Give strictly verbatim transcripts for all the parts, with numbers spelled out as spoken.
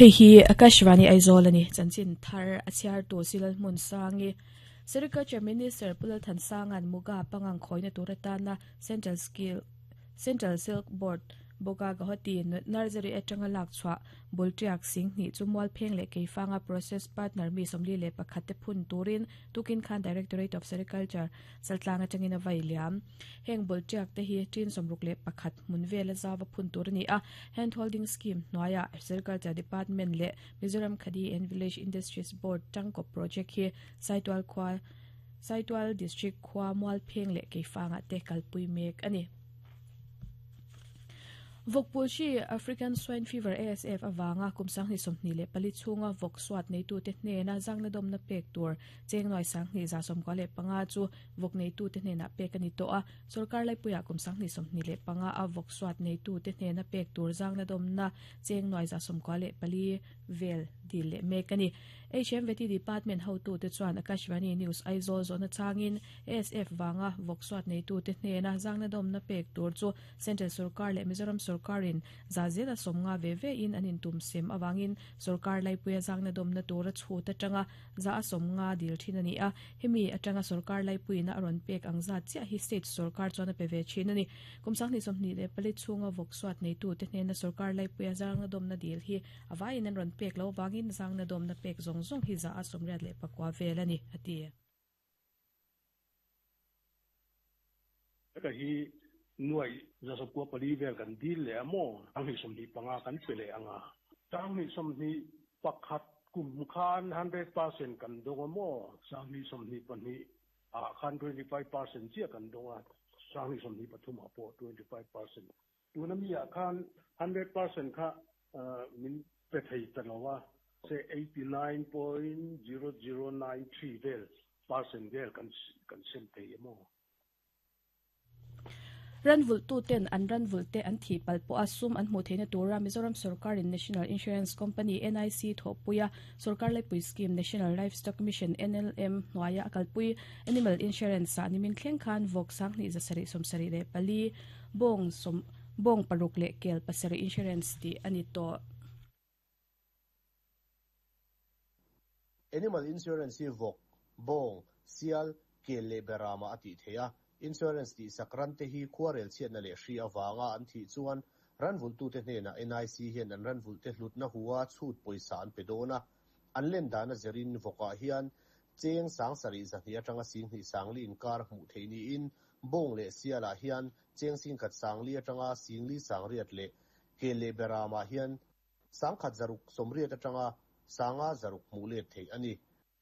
Hei hi Akashvani Aizawl ani chanchin thar a chhiar tu silal hmun sangi Sericulture Minister Pulal Thansangan Muga pangang khoina turatana Central Skill Central Silk Board boka Guwahati Nursery atanga lak chwa bultiak sing ni chumwal pheng le keifanga process partner mi somli le pakhat te phun turin tukin khan Directorate of Sericulture saltlanga tangina vailiam heng bultiak te hi tin somruk le pakhat munvela zawa phun tur ni a hand holding scheme noya Sericulture Department le Mizoram Khadi and Village Industries Board tangko project hi Saitual khwa Saitual District khwa mual pheng le keifanga te kalpui mek ani Vokpulshi African Swine Fever A S F awanga kumsang ni somni le pali chunga vok swat nei tu te hne na zangna dom na pek tur chengnoi sang ni za som kwa le panga chu vok nei tu te hne na pek ani to a sarkar lai puya kumsang ni somni le panga a vok swat nei tu te hne na pek tur zangna dom na chengnoi za som kwa le pali vel dil le mek ani H M V T Department how to te chuan Akashvani News Aizawl zona changin A S F wanga vok swat nei tu te hne na zangna dom na pek tur chu Central Sarkar le Mizoram Sarkarin zazela somnga veve in anin tum sem awangin sarkar lai puya zangna dom na tura chuta tanga za somnga dil thin ani a hemi atanga sarkar lai puina aron pek angza chia hi state sarkar chona peve chin ani kumsang ni somni le pali chunga vok swat nei tu te hne na sarkar lai puya zangna dom na dil hi awain an ron pek lo wangin zangna dom na pek zong zong hi za asomriat le pakwa velani ati ka hi nuai za so kwa pali vel kan dil le amo ang hi som ni panga kan pele anga tang ni som ni pakhat kum khan one hundred percent kan dong amo sang ni som ni pani a khan twenty-five percent chia kan donga sang ni som ni pathum apo twenty-five percent tu na mi a khan one hundred percent kha min pe thei talowa se eighty-nine point zero zero nine three vel percent vel kan kan sem thei amo Ranvul tu ten an ranvul te an thi palpo asum an hmu theina tura Mizoram Sarkar in National Insurance Company N I C thopuya Sarkar Laipui Scheme National Livestock Mission N L M noaya akalpui Animal Insurance sa nimin thleng khan vok sang ni zasari somsari le pali bong som bong paruk le kel pasari insurance ti ani to Animal Insurance hi vok bong sial kel le berama ati theya insurance ti sakran te hi khuarel chiat na le hri awanga an thi chuan ranvul tu te hne na N I C hian an ranvul te hlut na huwa chhut poisa an pedona an len dana zerin voka hian cheng sang sari zahni atanga sing hi sangli inkar hmu theini in bong le siala hian cheng sing khat sangli atanga singli sangriat le kele berama hian sangkhat zaruk somriat atanga sanga zaruk mule thei ani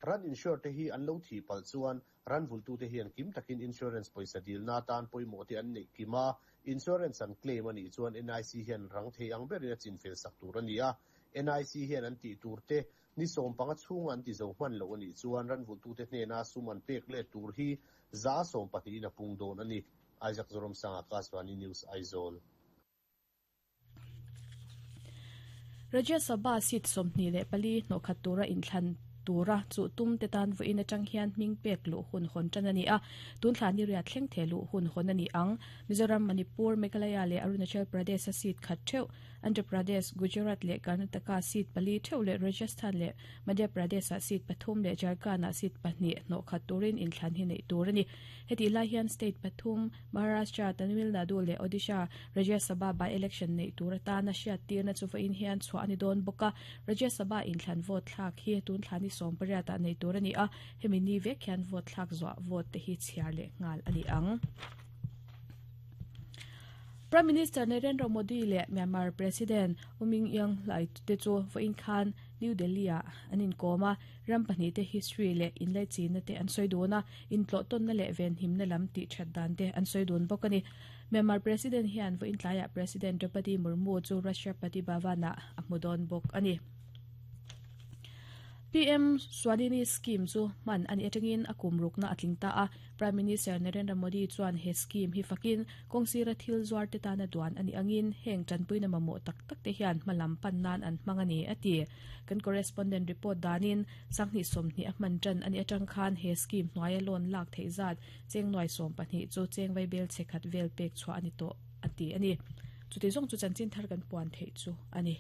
ran insure te hi an lo thi pal chuan ran vultu te hian kim takin insurance poisa dil na tan poimo te an nei kima insurance an claim ani chuan N I C hian rang thei ang berin a chinfel sak tur ani a N I C hian an ti tur te ni som panga chung an ti zo hman lo ani chuan ran vultu te hne na suman pek le tur hi za som pahnih na pung don ani Isaac Zorom Sanga Akashvani News Aizawl Rajya Sabha seat somni le pali nokhat tura inthlan tura chu tum te tan vo in atang hian ming pek lu hun hon chanani a tun thlani ria thleng the lu hun hon ani ang Mizoram Manipur Meghalaya le Arunachal Pradesh a seat khat theu Andhra Pradesh Gujarat le Karnataka seat pali theu le Rajasthan le Madhya Pradesh a seat pathum le Jharkhand a seat pahnih no khat turin in thlan hi nei tur ani heti lai hian state pathum Maharashtra Tamil Nadu le Odisha Rajya Sabha by election nei tur ta na hriat tir na chu vo in hian chhuah ani don boka Rajya Sabha in thlan vote thlak hi tun thlani som pariat nei tur ani a hemi ni vek hian vote thlak zwa vote te hi chhiar le ngal ani ang Prime Minister Narendra Modi le Myanmar President Uming Yang Lai te chu vo in khan New Delhi a anin koma ram pahnih te history le inlai chin te an soi dona in tlo ton na le ven him na lam ti that dan te an soi don bok ani Myanmar President hian vo in tlaya President Draupadi Murmu chu Rashtrapati Bhavana a hmudon bok ani P M Swanini scheme chu man ani atangin akum rukna atling ta a Prime Minister Narendra Modi chuan he scheme hi fakin kongsira thil zuar te tana duan ani angin heng tanpuina mamo tak tak te hian malam pan nan an mangani ati kan correspondent report danin sangni somni a man tan ani atang khan he scheme hnuaia loan lak thei zat cheng noi som pahnih chu cheng vai bel chekhat vel pek chua ani to ati ani chuti zong chu chanchin thar kan puan thei chu ani.